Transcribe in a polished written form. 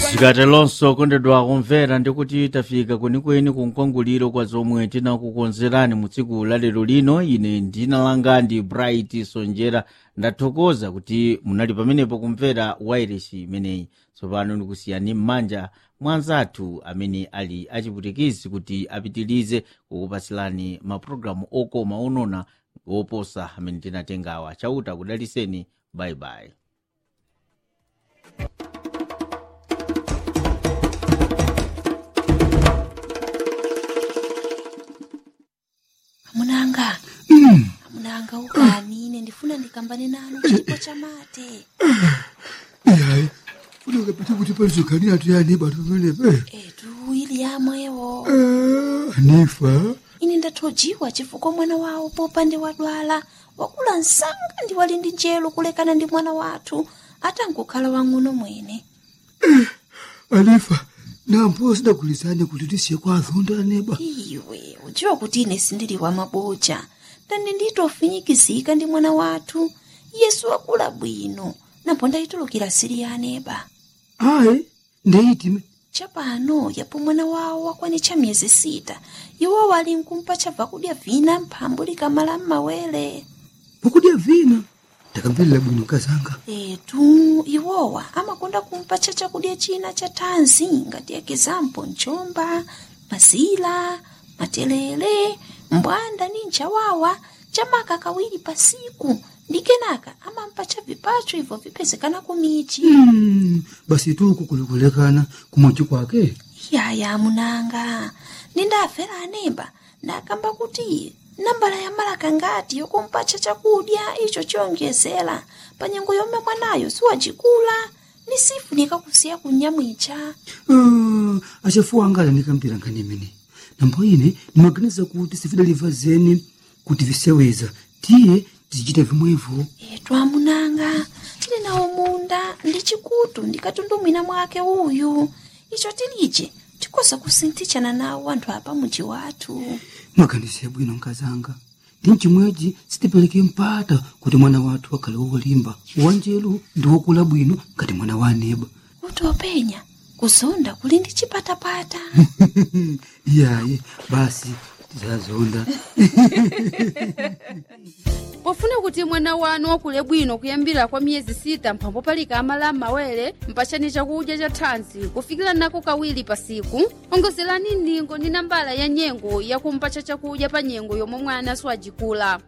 Zikatelonso kondedwa kumvera, ndikuti tafika kwenikweni kunkwanguliro kwa zomwe tinakukonzerani mu tsiku la lero lino. Ine ndinalanga ndi Bright Sonjera, ndathokoza kuti munali pamenepo kumvera wairesi imeneyi. Tsopano ndikusiyani m'manja mwa anzathu amene ali achiputikisi kuti apitirize kukupatsirani mapulogalamu okoma onona woposa amene tinatengawa. Chauta kudaliseni, bayibayi. Amunanga, amunanga, ukani, ine ndifuna ndikambane nanu chipo chamate. Ihayi, funeka pete kuti palizogani atu yani batu pamenepe. Etu ili yamwewo. Anifa! Ine ndathojiwa chifukwa mwana wawo popande wadwala wakula msanga ndi wali ndi njelo kulekana ndi mwana wathu atangokhala wang'ono mwene. Anifa, nampo sidagulizane kuti tisiye kwa azonda aneba. Iwe udziwa kuti ine sindili wa maboja, ndani nditofinyikizika ndi mwana wathu Yesu wakula bwino, nampo ndayitulukira sili ya aneba. Ayi, ndeyitime. Chapano yapo mwana wawo wakwanitcha miyezi 6, iwo wali nkumpa chabva kudya vina mphambu likamala m'mawere. Pokudya vina, ndakamverera bwino kazanga. Etu iwowa amakonda kumpatcha chakudya china cha thanzi ngati ekizampo mchomba, mazila, matelele, mbwanda ni nchawawa chamaka kawiri pasiku, ndi kenaka amampatcha vipacho ibvo vipezekana kumichi. Basi tuku kulikulekana kumochi kwake. Yaya munanga, nindafera anemba ndakamba kuti nambala ya malaka ngati yokumpatcha chakudya icho chiyonjezera pa nyengo yomwe mwanayo siwacikula ni sifunika kusiya kunyamwicha. Ah, achafuwa anga alanikampira nkhani imene, nambo ine ndimaganiza kuti sifidaliva zeni kuti viseweza, tiye tizichita vimwevo. Etu amunanga, tili nawo munda ndi chikutu ndikatundumwina mwake uyu, icho tilije tikoza kusinthitshana nawo anthu apa muji wathu. Mwaganize bwino nkazanga, ndi mchimwechi sitipereke mpata kuti mwana wathu akhale wolimba, wanjelu ndi wokula bwino ngati mwana wa aneba. Kuti openya kuzonda kuli ndi chipatapata. Iyayi, basi tizazonda. Pofuna kuti mwana wanu wakule bwino kuyambira kwa miyezi 6 mphambo palika amala m'mawere, mpachani chakudya cha thanzi kufikira nako kawiri pasiku, ongozerani ndingo ndi nambala ya nyengo yakumpatcha chakudya pa nyengo yomwe mwana siwajikula.